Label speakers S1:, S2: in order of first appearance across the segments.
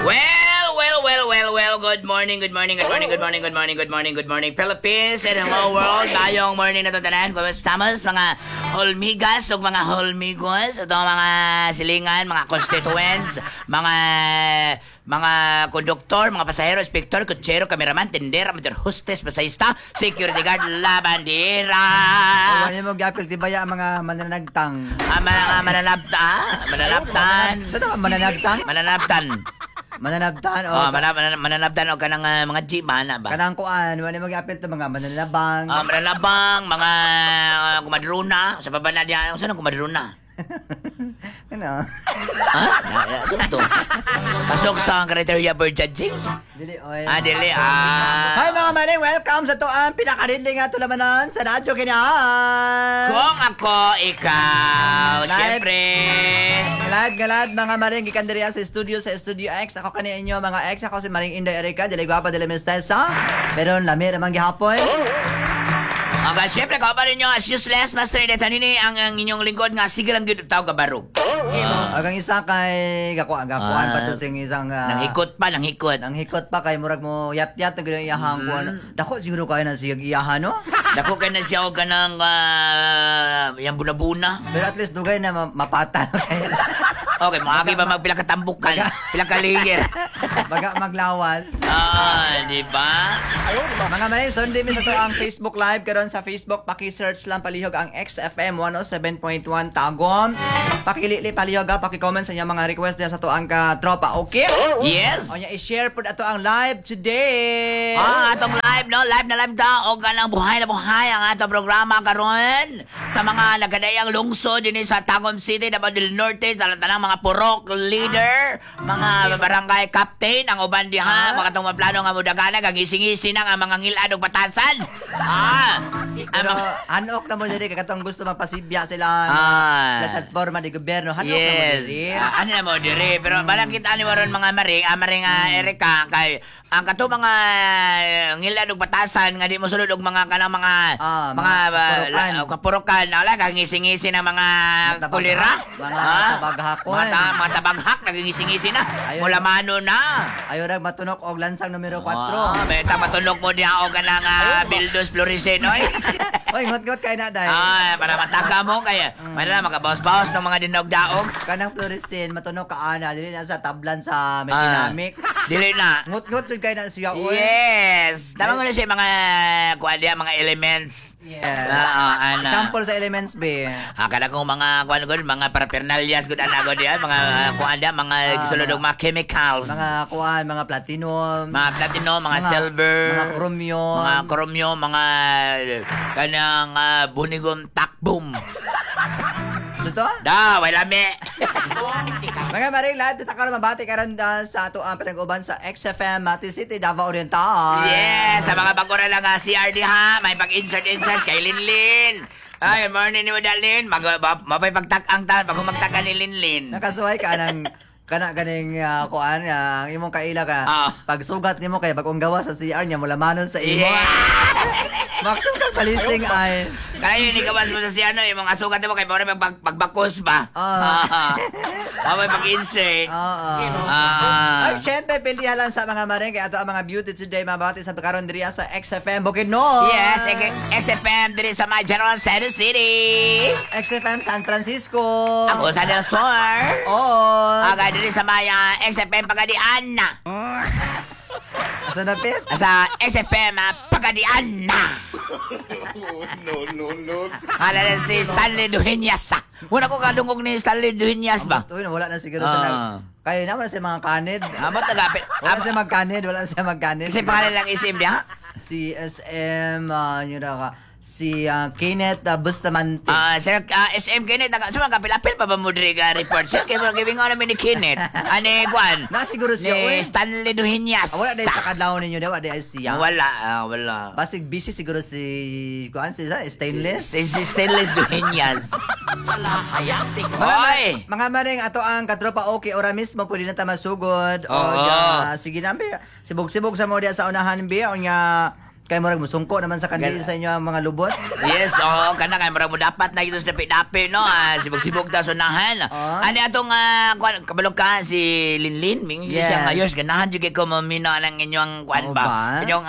S1: Well, well, well, well, well, good morning, good morning, good morning, good morning, good morning, good morning, good morning, Philippines and hello world. Tayong morning na to tanan. Kumusta mga holmigas ug mga holmigos, ito mga silingan, mga constituents, mga konduktor, mga pasahero, inspektor, kutsero, kameraman, tindera, motor hostess, masahista, security guard, labandera.
S2: Wala mo gapil tibaya ang mga mananagtang.
S1: Ah, mga mananabta, mananabtan.
S2: Sa tama mananagtang?
S1: Mananabtan.
S2: Mananabtan o
S1: Oh, mananabtan o kanang mga jeep ba na ba?
S2: Kanang kuan, wala mo gapil to mga mananabang.
S1: Ah, mananabang, mga kumadrona, sa baba na diya, saan ang kumadrona?
S2: Ano?
S1: Ha? Saan to? Pasok sa criteria for judging?
S2: Dili oy.
S1: Ah, dili, ah.
S2: Hi mga maring, welcome sa tuang pinakaridli nga tulamanon sa Radyo Kinaan.
S1: Kung ako, ikaw,
S2: Live.
S1: syempre.
S2: Live nga live mga maring gikan diri sa studio sa Studio X. Ako kani inyo mga ex, ako si Maring Inday Erika, dili gwapa dili mistesa. Pero lami ra man gihapon.
S1: Okay, syempre, kauban ninyo as useless, Master Detanini, ang inyong lingkod nga, sige lang gyud tawag kabarog.
S2: Ug ang isa kay gakuan gakuan pa to
S1: Ah.
S2: sing isang
S1: Nanghikot pa, nanghikot.
S2: Nanghikot pa kay murag mo yat-yat na gyud ang iyahang kuan. Dako siguro kay na siya iyahan no.
S1: Dako kay na siya og kanang yang bunabuna.
S2: Pero at least dugay na mapata kay.
S1: Okay, maagi ba magpila katambukan, pila kaligir.
S2: Baga maglawas.
S1: Ah, di ba?
S2: Mga maring, sundi mi sa to ang Facebook Live karon sa Facebook. Paki-search lang palihog ang XFM 107.1 Tagum. Pakilili palihog ha, paki-comment sa inyong mga request diya sa to ang ka-tropa, okay?
S1: Yes.
S2: O nya i-share pud ato ang live today.
S1: Ah, atong live no, live na live ta og kanang buhay na buhay ang atong programa karon sa mga nagkadayang lungsod dinhi sa Tagum City, Davao del Norte, sa tanang mga purok leader, mga barangay captain ang uban diha, mga katong plano nga mudagana kagising-gising na ang mga ngilad og batasan. Ah, ang
S2: Pero
S1: mga
S2: hanok na mo diri kay katong gusto magpasibya sila plataforma di gobyerno, hanok na mo diri.
S1: Ah, ano na mo diri pero barang kita ni waron mga maring, maring Erika kay ang kato mga ngilad og batasan nga di mo sulod og mga kanang mga
S2: Ah,
S1: mga
S2: mga kapurukan.
S1: kapurukan ala kangisi-ngisi na mga
S2: Mga
S1: kulira.
S2: mga tabaghakon.
S1: Mga tabaghak nagingisi-ngisi na.
S2: Ayun.
S1: Mula mano na.
S2: Ayaw ra matunok og lansang numero 4.
S1: Ah, beta matunok mo diha og kanang Bildos Florisen oy.
S2: Oy, ngot-ngot kay na dai.
S1: Ah, para mataka mo kay mm. Makabaos-baos ng mga dinog-daog.
S2: Kanang fluorescent matunok ka ana dili na sa tablan sa may
S1: Ah,
S2: dinamik.
S1: Dili na.
S2: Ngot-ngot jud kay na siya oy.
S1: Yes. Tama ko na siya mga kuan diha, mga elements.
S2: Yes.
S1: Ah, ana.
S2: Example sa elements B.
S1: Ah, kada kong mga kuan gud, mga paraphernalias gud ana gud diha, mga kuan diha, mga gisulod og mga chemicals.
S2: Mga kuan, mga platinum,
S1: Mga platinum, mga silver,
S2: mga chromium.
S1: mga chromium, mga kanang bunigom takbom.
S2: So to?
S1: Da, wala me.
S2: Mga maring live dito karon mabati karon sa ato ang pinag-uban sa XFM Mati City, Davao Oriental.
S1: Yes, sa mga bago ra lang CRD ha, may pag-insert-insert kay Linlin. Ay, morning ni mo Dalin. Mapay pagtak-ang ta, pag humagtakan ni Linlin.
S2: Nakasuway ka nang kana ganing kuan ang imong kaila ka. Pagsugat nimo kay bagong gawa sa CR niya mula manon sa imo. Maksugat palising ay.
S1: Kaya yun, ikawas mo sa siya, no, yung mga sugat mo kay Bore, pagbakos ba?
S2: Ah.
S1: Mapay pag-insert.
S2: Oo.
S1: Ah.
S2: Ay, syempre, pilihan lang sa mga maring kay ato ang mga beauty today mabati sa karon diri sa XFM Bukidnon.
S1: Yes, XFM diri sa my General Santos City.
S2: XFM San Francisco.
S1: Ako sa Del Sur.
S2: Oo.
S1: Aga diri sa may XFM Pagadian.
S2: Sa napit?
S1: Sa XFM Pagadian.
S3: No, no, no.
S1: Hala na si Stanley Dueñas. Ah. Wala ko kadungog ni Stanley Dueñas ba?
S2: Uy, wala na siguro sa nag. Kaya naman na siya mga kanid.
S1: Amo tagapit.
S2: Wala siya magkanid, wala na siya magkanid.
S1: Kasi pangalan lang isim niya.
S2: Si SM, yun na ka. Si Kenneth Bustamante.
S1: Ah, sir, SM Kenneth, sa mga kapil-apil pa ba mo diri ka report? Sir, kay mga gibingon namin ni Kenneth. Ani Kwan?
S2: Na siguro siya,
S1: Ni
S2: uy.
S1: Stanley Dueñas.
S2: Ah, wala dahil sa kadlaw ninyo, wala dahil siya.
S1: Wala, wala.
S2: Basig busy siguro si kuan si sa stainless.
S1: Si Stainless Dueñas.
S2: Mga,
S1: Oy!
S2: mga maring ato ang katropa okay ora mismo pwede na ta masugod. O
S1: Oo.
S2: sige na be. Sibog-sibog sa mo diya sa unahan be. O nga Kay murag musungko naman sa kandila sa inyo ang mga lubot.
S1: Yes, oo, kana kay murag mo dapat na ito sa dapi-dapi, no? Ah, sibog-sibog ta sunahan. Ani atong kuan kabalog ka si Linlin, ming siya ngayos ganahan jud kay ko mamina ng inyong kuan
S2: Oo
S1: ba.
S2: ba?
S1: Inyong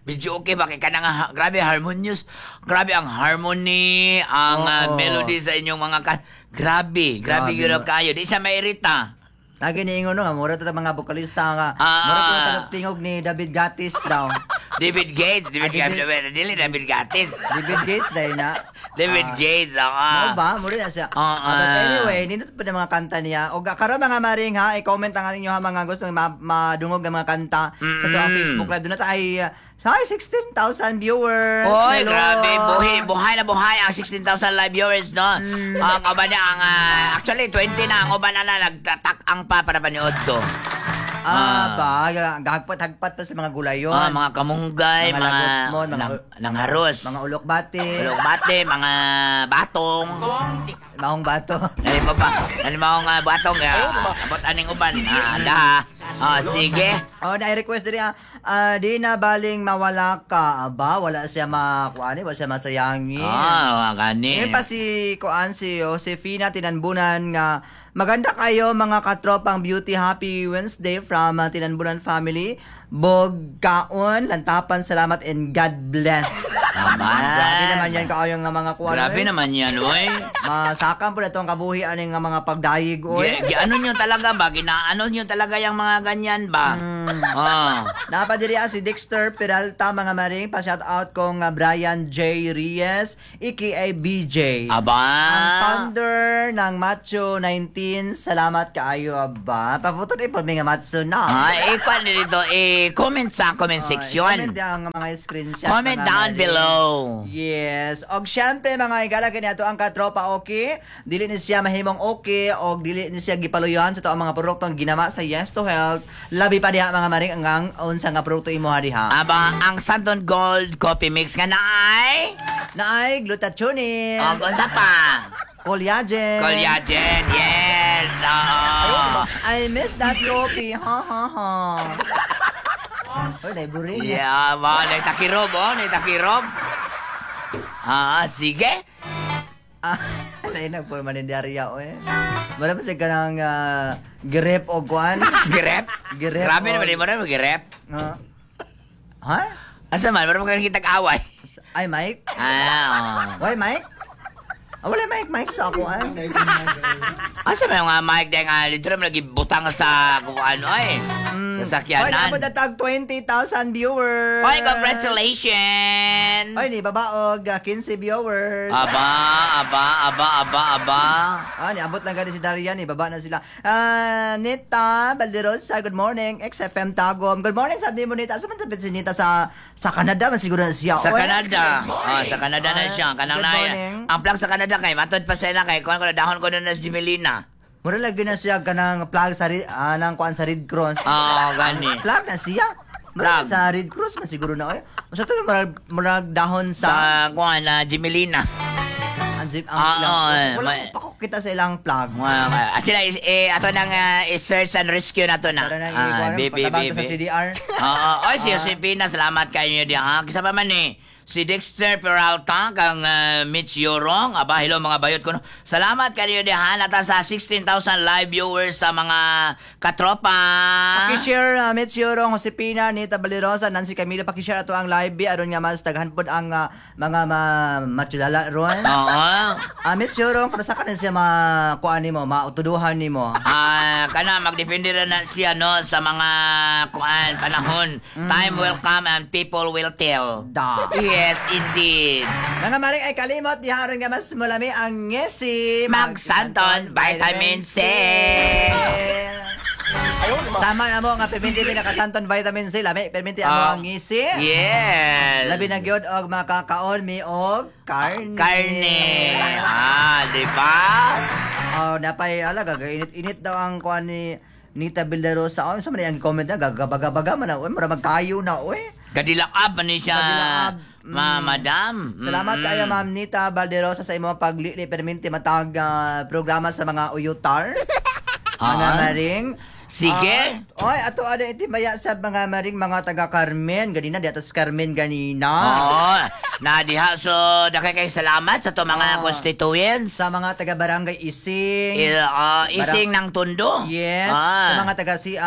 S1: video okay ba kay kanang grabe harmonious, grabe ang harmony, ang melody sa inyong mga kan. Grabe, grabe
S2: Grabe,
S1: gyud
S2: no?
S1: kayo. Di siya mairita.
S2: Lagi niingon no nga mura ta mga bokalista nga mura ko na tingog ni David Gatis daw.
S1: David Gates, David
S2: Ah,
S1: Gates, dili David Gates.
S2: David Gates dahil na.
S1: David Gates, oo.
S2: Mao ba? Mura na siya.
S1: Oo.
S2: But anyway, nindot pa ng mga kanta niya. O karon mga maring ha, i-comment ang inyo ha mga gusto madungog ng mga kanta sa to ang Facebook Live. Doon na tayo ay 16,000 viewers.
S1: Oy,
S2: Hello.
S1: grabe, buhay, buhay na buhay ang 16,000 live viewers, no? Ang uban na, ang, actually, 20 na, ang uban na na, nagtatak-ang pa para paniod to.
S2: Ah, ba, gagpat-hagpat pa sa mga gulayon.
S1: Ah, mga kamunggay,
S2: Mga
S1: mga,
S2: lagot mo,
S1: nang, nangharos.
S2: mga ulok-bati,
S1: Ulok bate, mga batong.
S2: mahong bato.
S1: Ano pa ba? Ano mga batong? Abot aning uban. Ah, daha. Ah, sige.
S2: Oh, na request diri di na baling mawala ka. Aba, wala siya makuani, wala siya masayangi.
S1: Ah, gani.
S2: Ngayon pa si Kuan si Josefina Tinanbunan nga maganda kayo mga katropang beauty, happy Wednesday from Tinanbunan family. Bog kaon, lantapan, salamat and God bless.
S1: Tama.
S2: Grabe naman yan kaayo nga mga kuan.
S1: Grabe
S2: oy.
S1: naman yan, oy.
S2: Masakam po na itong kabuhi aning nga mga pagdayig oy.
S1: Gi, ano nyo talaga ba? Ginaano nyo talaga yung mga ganyan ba? Ah.
S2: Napadiri si Dexter Peralta mga maring, pa-shout out kong Brian J. Reyes aka BJ.
S1: Aba.
S2: Ang founder ng Macho 19, salamat kaayo aba. Paputo rin po may nga Macho na.
S1: Ah, eh, kwan dito, eh, comment sa comment section.
S2: Comment ang mga screenshot.
S1: Comment
S2: mga
S1: down
S2: maring.
S1: below.
S2: Yes. Og syempre mga igala kini ato ang katropa okay. Dili ni siya mahimong okay og dili ni siya gipaluyan sa to ang mga produktong ginama sa Yes to Health. Labi pa diha mga maring ang unsa nga produkto imo ha diha.
S1: Aba, ang Santon Gold Coffee Mix nga naay.
S2: Naay glutathione,
S1: Og unsa pa?
S2: collagen.
S1: Collagen, yes. Oo.
S2: I miss that coffee. Ha ha ha. Oy, naiburing.
S1: Yeah, ba, nagtakirob, oh, nagtakirob. Ah, sige.
S2: Ah, lain na po man diarya oy. Mara pa siya kanang grip o kuan.
S1: Grep?
S2: Grep,
S1: Grabe
S2: oh.
S1: naman, di mo na grep.
S2: Ha?
S1: Asa man, meron mo kitag away.
S2: Ay, Mike?
S1: Ah, oh.
S2: Why, Mike? Ah, wala Mike, Mike sa ako, ay.
S1: Asa man yung mga mic dahil nga, dito naman lagi butang sa kung ano ay.
S2: Hoy,
S1: Sasakyanan.
S2: naabot na tag 20,000 viewers.
S1: Hoy, congratulations!
S2: Hoy, ni babaog, 15 viewers.
S1: Aba, aba, aba, aba, aba.
S2: Ah, niabot lang gani si Darian, ni baba na sila. Ah, Nita Balderosa, good morning. XFM Tagum. Good morning, sabi mo Nita. Asa man dapat si Nita sa Canada man siguro na siya.
S1: Sa
S2: Oy.
S1: Canada. Oh, sa Canada na
S2: Ah,
S1: siya. Kanang
S2: good
S1: na,
S2: morning.
S1: ang plug sa Canada kay matod pa sila kay kuan ko na dahon ko na si Jimelina.
S2: Mura lagi na siya kanang plug sa nang kuan sa Red Cross.
S1: Oh, gani.
S2: Plug na siya. Mura
S1: Plug.
S2: sa Red Cross man siguro na oy. Masa to murag murag dahon
S1: Sa
S2: sa
S1: kuan na Jimelina.
S2: ang zip ang
S1: Ah,
S2: ilang.
S1: oo, eh,
S2: Wala pa ko kita sa ilang plug.
S1: Wow, sila is, eh, ato nang i-search and rescue na to na.
S2: Tara na
S1: Ah,
S2: ikuan
S1: baby,
S2: patabang ta sa
S1: baby.
S2: CDR.
S1: Oo, oy si Josefina, salamat kayo diha. Ha? Kisa pa man eh. Si Dexter Peralta, kang Mitch Yorong, aba, hello mga bayot ko. No. Salamat kayo diha. Nata sa 16,000 live viewers sa mga katropa.
S2: Pakishare Mitch Yorong, Josepina, Nita Balirosa, Nancy Camila, pakishare ato ang live bi aron nga mas daghan pod ang mga matsulala ron.
S1: Oo.
S2: Mitch Yorong, para sa kanin siya makuan nimo, mautuduhan nimo.
S1: Ah, kana magdepende ra na siya no sa mga kuan panahon. Time will come and people will tell.
S2: Da.
S1: Yes, indeed.
S2: Mga maring ay kalimot, diha aron nga mas mulami ang ngesi.
S1: Magsanton Vitamin C.
S2: Sama na mo nga perminti mi nakasanton vitamin C, lami perminti amo ang ngisi.
S1: Yes.
S2: Labi na gyud og makakaon mi og karne.
S1: Karne. Ah, di ba?
S2: Oh, napay ala gagainit-init daw ang kuan ni Nita Vildarosa. Oh, sa man ang comment na gagabaga-baga man na, oy, mura magkayo na oy.
S1: Kadilakab man ni siya.
S2: Kadilakab.
S1: Ma, madam.
S2: Salamat kaayo Ma'am Nita Valderosa sa imong paglili perminti matag programa sa mga uyutar. Mga maring.
S1: Sige.
S2: Oy, ato ada itimaya sa mga maring mga taga Carmen ganina di atas Carmen ganina.
S1: Oo. Na diha so dakay kay salamat sa to mga constituents.
S2: Sa mga taga Barangay Ising.
S1: Ising ng Tondo.
S2: Yes, sa mga taga si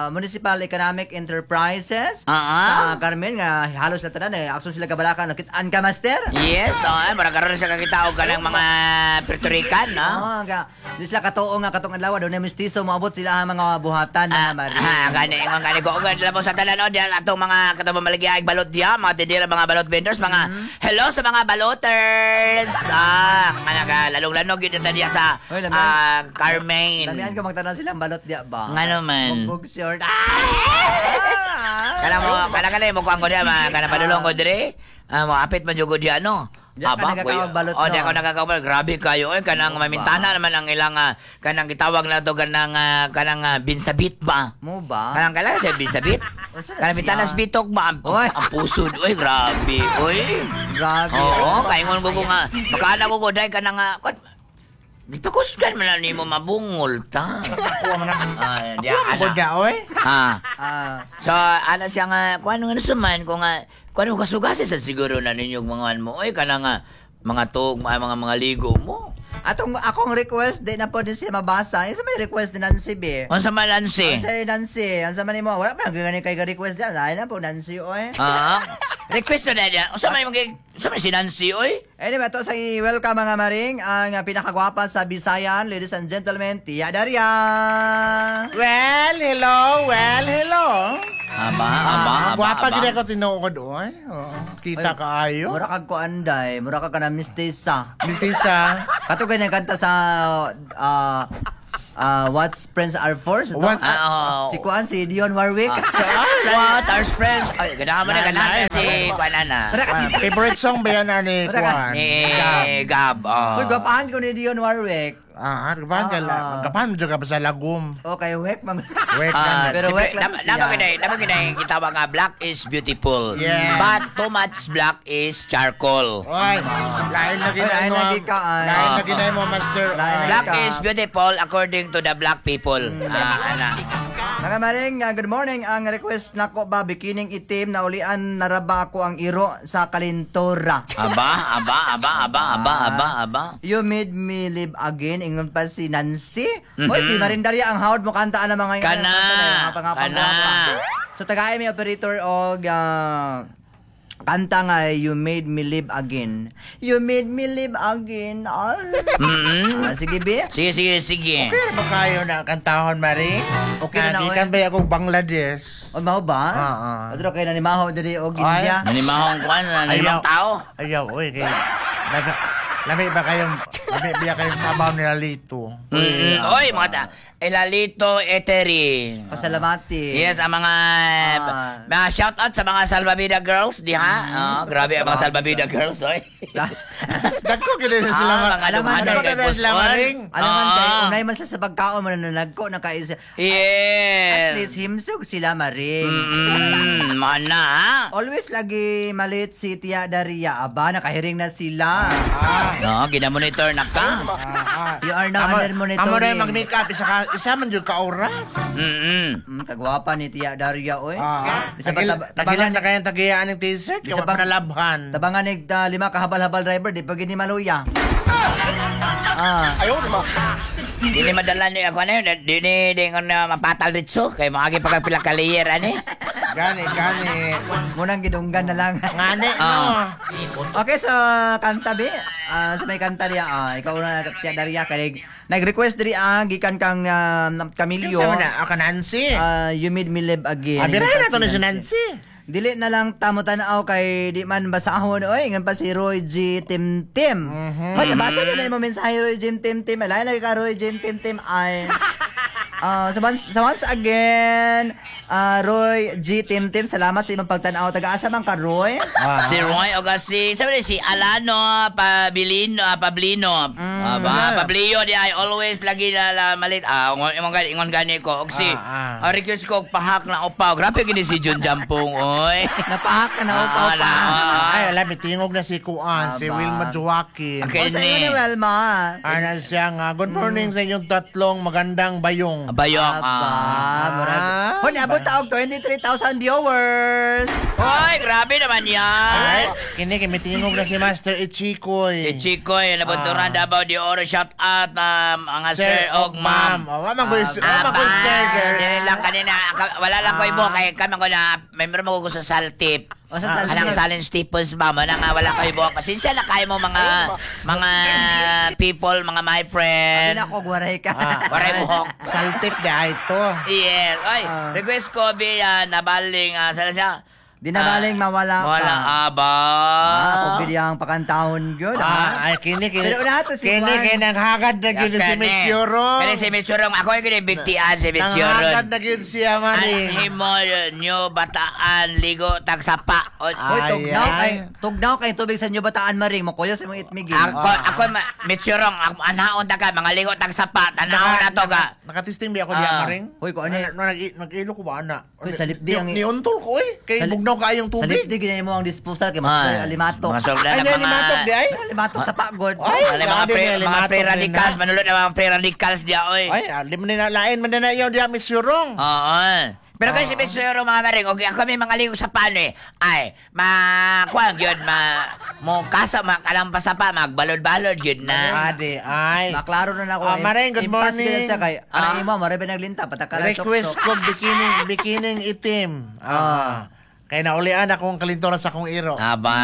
S2: Municipal Economic Enterprises sa Carmen nga halos na tanan eh akson sila kabalakan nakit-an ka, master.
S1: Yes, oh, mura karon sa kakita og kanang mga Puerto Rican, no?
S2: Oo, nga di sila katuo nga katong adlaw doon na mestizo moabot sila ang mga buhatan na maring.
S1: Gani ingon gani ko og labaw sa tanan oh, diha atong mga katong mamalagi balot diha, mga tindera, mga balot vendors, mga hello sa mga baloters. Nga naga lalong-lanog yun ito diha sa
S2: Oy, lamian.
S1: Carmen.
S2: Lamian ko magtanan silang balot diya ba?
S1: Nga naman.
S2: Mugbog short. Ah!
S1: Kana mo, kana kana mo kuan ko diha, kana padulong ko dire. Mo apit man jud ko diha no.
S2: Diya ka
S1: Aba,
S2: nagkakaog balot,
S1: Oh,
S2: no?
S1: diya ko nagkakaog balot. Grabe kayo. Oy, kanang mamintana naman ang ilang kanang gitawag na to kanang kanang binsabit ba?
S2: Mo ba?
S1: Kanang kailangan siya binsabit?
S2: Unsa na
S1: Kanang
S2: siya?
S1: mintanas bitok ba?
S2: Oy.
S1: Ang pusod. Oy, grabe. Oy.
S2: Grabe.
S1: Oo, kaingon ko ko nga. Makaana ko ko dahil kanang gipakusgan man lang nimo mabungol ta.
S4: Kuha mo na.
S1: Ah, diya
S4: Kuha mo
S1: ana.
S4: na, oy.
S1: Ah.
S2: Ah,
S1: So, ana siya nga, kung ano nga nasuman, kung nga, kung ano kasugasi sa siguro na ninyong mga ano mo, oy, kana nga, mga tog, mga ligo mo.
S2: Atong akong request di na po din siya mabasa. Yung sa may request ni Nancy B.
S1: Unsa man, Nancy?
S2: Ang sa Nancy, ang sa man nimo, wala pa gani kay request diyan. Lain na po Nancy oy.
S1: Request na niya. Unsa man imong unsa man si Nancy, oy?
S2: Anyway, ito sa welcome mga maring ang pinakagwapa sa Bisayan, ladies and gentlemen, Tia Daria.
S4: Well, hello, well, hello.
S1: Aba, aba, aba.
S4: Gwapa
S1: aba.
S4: gid ako tinuod, oy. Oo. Kita
S2: Ay,
S4: kaayo.
S2: Mura kag kuanday, mura ka kana mistisa.
S4: Mistisa.
S2: Kato ganyan kanta sa What's Friends Are For? Sa to?
S1: Ah, oo.
S2: Si Kuan, si Dion Warwick.
S1: What are friends? Ay, ganahan mo na, ganahan na si Kuan ana.
S2: Mura ka-
S4: Favorite song ba yan ani
S2: Wala ka.
S4: Kuan?
S1: Ni Gab. Oh.
S2: Uy, gwapahan ko ni Dion Warwick.
S4: Gapahan ka gapahan mo ka pa sa lagom.
S2: Okay, wek, mang.
S4: Wek
S1: Ah,
S4: ka.
S2: Pero
S1: siyempre,
S2: wek lang siya.
S1: Nama ginay gitawag nga black is beautiful.
S4: Yes.
S1: But too much black is charcoal.
S4: Oy, lain na
S2: Oy,
S4: ginay
S2: lain
S4: mo.
S2: na gid ka, ay.
S4: Lain na ginay mo, master.
S2: Lain na
S1: Black
S2: ka.
S1: is beautiful according to the black people. Ana.
S2: Mga maring, good morning. Ang request nako ba, bikining itim na ulian naraba ako ang iro sa kalintora.
S1: Aba, aba, aba, aba, aba, aba, aba.
S2: You made me live again. Ingon pa si Nancy. Hoy, si Marindaria ang hawd mo kantaan ang mga
S1: Kana.
S2: mga pangapang
S1: Kana.
S2: So tagay mi operator og kanta nga You Made Me Live Again. You made me live again. Ah. Sige, be.
S1: Sige, sige, sige.
S4: Pero ba kayo na kantahon, Maring?
S2: Okay na na, oy.
S4: Gikan ba akong Bangladesh?
S2: O, maho ba?
S4: Ah.
S2: Adro kay nanimaho diri og India.
S1: Nanimahong kuan, nanimahong tao.
S4: Ayaw, oy. Kay, lami ba kayong, lami ba kayong sabaw nila lito?
S1: Oy, mga ta. Elalito Eteri.
S2: Pasalamati.
S1: Yes, ang mga mga shout out sa mga Salvavida girls diha. Oh, grabe ang mga Salvavida girls, oy.
S4: Dagko gid sa sila.
S1: Mga
S2: Alaman,
S1: dumanan
S4: dagko
S1: kay
S4: gid sila
S1: Puson.
S4: Maring.
S2: Alam man kay unay man sila sa pagkaon mo nananagko na kay
S1: Yes.
S2: At least himsog sila maring.
S1: Mana ha?
S2: Always lagi malit si Tia Daria. Aba, nakahiring na sila.
S1: No, ginamonitor na ka.
S2: You are now under monitoring.
S4: Amo na yung mag-makeup isa man jud ka oras.
S2: Kagwapa ni Tia Daria, oy. Bisa pa
S4: Tagilan
S2: tabangan
S4: na kayang tagiyaan ng t-shirt,
S2: Bisa
S4: kaya
S2: pa-
S4: panalabhan.
S2: tabangan ni lima ka habal-habal driver di pa gini maluya.
S1: Dili madala ni ako ano yun, dili di ko na mapatal dito kay maagi pa ka pila ka layer ani.
S4: Gani, gani.
S2: Munang gidunggan na lang.
S4: Ngani, no.
S2: Okay, so kanta be. Sa may kanta diya, ikaw na Tia Daria kay nag-request diri gikan kang Camilio.
S4: Kinsa man na? Ako Nancy.
S2: You made me live again.
S4: Birahin na to ni si Nancy.
S2: Dili na lang tamo tan-aw kay di man basahon oy ngan pa si Roy G Tim Tim. Hoy, nabasa na imo mensahe Roy G Tim Tim. Alay lagi ka Roy G Tim Tim ay. Sa once again, Roy G Tim Tim, salamat sa imong pagtan-aw. Taga-asa man ka Roy?
S1: Si Roy o si sabi si Alano Pabilino, Pablino. Aba, Pablio di ay always lagi na la, malit. Ingon gani ingon gani ko og si request ko og pahak na upaw. Grabe gini si Jun Jampong oy.
S2: Napahak ka na upaw pa.
S4: Ay, alam, itingog na si Kuan, si
S2: Aba.
S4: Wilma Joaquin.
S1: Okay.
S2: O sa iyo ni Welma.
S4: Ana siya nga, good morning sa inyong tatlong magandang bayong.
S1: Bayong.
S2: Aba,
S1: Ah.
S2: murag. Hoy, niabot ta og 23,000 viewers.
S1: Hoy, grabe naman yan.
S4: Kini kay mitingog na si Master Ichikoy.
S1: Eh, Chico, eh, nabunturan Davao de Oro, shout out, ma'am, mga sir og ma'am.
S4: Oh, wa man ko wa man ko
S1: Aba,
S4: sir girl.
S1: dili lang kanina, wala lang ko ibo, kay kami ko na, member mo ko sa Saltip.
S2: O, sa Saltip.
S1: Anang Salin Staples, ma'am, ana nga wala kayo buhok. Pasensya na kayo mo mga people, mga my friend.
S2: Hindi na ako, waray ka.
S1: Waray buhok.
S4: Saltip di ay to.
S1: Yes. Ay, request ko, be, nabaling, sana siya?
S2: Di nabaling mawala ka.
S1: Mawala, aba.
S2: Ah, ako bilyang pakantahon yun.
S4: Ah, ay kini kini.
S2: Pero una to si
S4: Kini
S2: Juan.
S4: kini nanghagad na gyud si Mitsurong.
S1: Kani si Mitsurong. Ako yung ginibigtian si Mitsurong.
S4: Nanghagad na gyud siya, Maring.
S1: Ang himo nyo bataan ligo tagsapa. O,
S2: Hoy, tugnaw
S4: Ay,
S2: kay tugnaw kay tubig sa inyo bataan maring mokuyo sa imong itmigin.
S1: Ako ako Mitsurong ako anaon ta ka mga ligo tagsapa tanahon na to ka.
S4: Nakatisting bi ako diya, Maring.
S2: Hoy, ko ano eh.
S4: No, nag-ilo ko ba ana?
S2: Hoy, sa lipdi ang-
S4: Niuntol ko eh. Kay bugnaw kaayong
S2: Sa
S4: tubig.
S2: lipdi ginay mo ang disposal kay mas alimatok.
S1: Mga sobra
S4: Ay,
S1: na mga
S4: nalimatok di ay.
S2: Alimatok sa pagod.
S4: Ay,
S1: Mga
S4: grabe,
S1: pre, mga
S4: nalimatok
S1: pre-radicals,
S4: din na.
S1: manulod na mga pre-radicals diya oy.
S4: Ay, di man nila lain man na iyo diya Mitsurong.
S1: Oo. Pero kasi si Mitsurong mga maring, okay, ako may mga ligo sa paano eh. Ay, ma, kuang yun, ma, mo kasa, ma, alam pa sa pa, magbalod-balod yun na.
S4: Adi ay.
S2: Maklaro na na ako.
S4: Ah, Maring, good
S2: Impas
S4: morning.
S2: gyud siya kay
S1: Ah.
S2: ana imo mare ba naglinta patakara
S4: Request ko bikini bikining itim. Ah. Kay naulian akong kalintoran sa akong iro.
S1: Aba.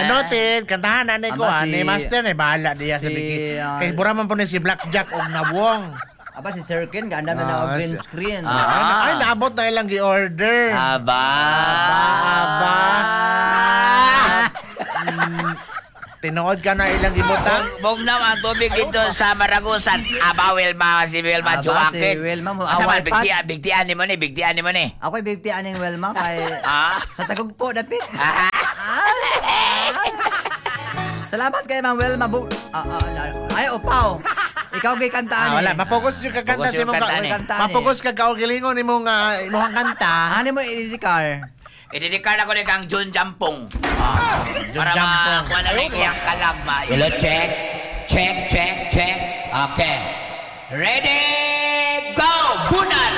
S4: Ano tin, kantahan na ko
S2: Aba,
S4: ah, ni Master ni bahala diya sa
S2: si,
S4: bikini. Kay bura man po ni si Blackjack og Nawong.
S2: Aba si Sir Ken ganda na na og green screen.
S1: Ah.
S4: Ay, naabot na ilang gi-order.
S1: Aba.
S4: Aba, aba. Tinuod ka na ilang gibutang.
S1: Bugnaw ang tubig dito sa Maragusan. Aba, Wilma, si Wilma
S2: Aba,
S1: Chuakin.
S2: si Wilma mo,
S1: Asa man,
S2: awal pa.
S1: bigtian, bigtian ni mo ni, bigtian ni mo ni.
S2: Ako'y bigti aning Wilma kay
S1: Ah?
S2: sa Tagugpo dapit.
S1: Ah.
S2: Salamat kay Ma'am Wilma Bu. Ay upaw. Ikaw gay kantaan.
S4: Ah, wala,
S2: eh.
S4: mapugos yung kakanta
S1: Pugos
S4: sa
S1: yung
S4: imong
S1: kantaan eh.
S2: Kantaan eh.
S4: Mapugos ka kaugalingon imong imong kanta.
S2: Ano mo i-dedicar?
S1: Idedikar ako ni kang Jun Jampong. Ah,
S4: Jun
S1: para
S4: Jampong.
S1: makuha na rin iyang kalagma. Hello, check. Check, check, check. Okay. Ready, go! Bunal!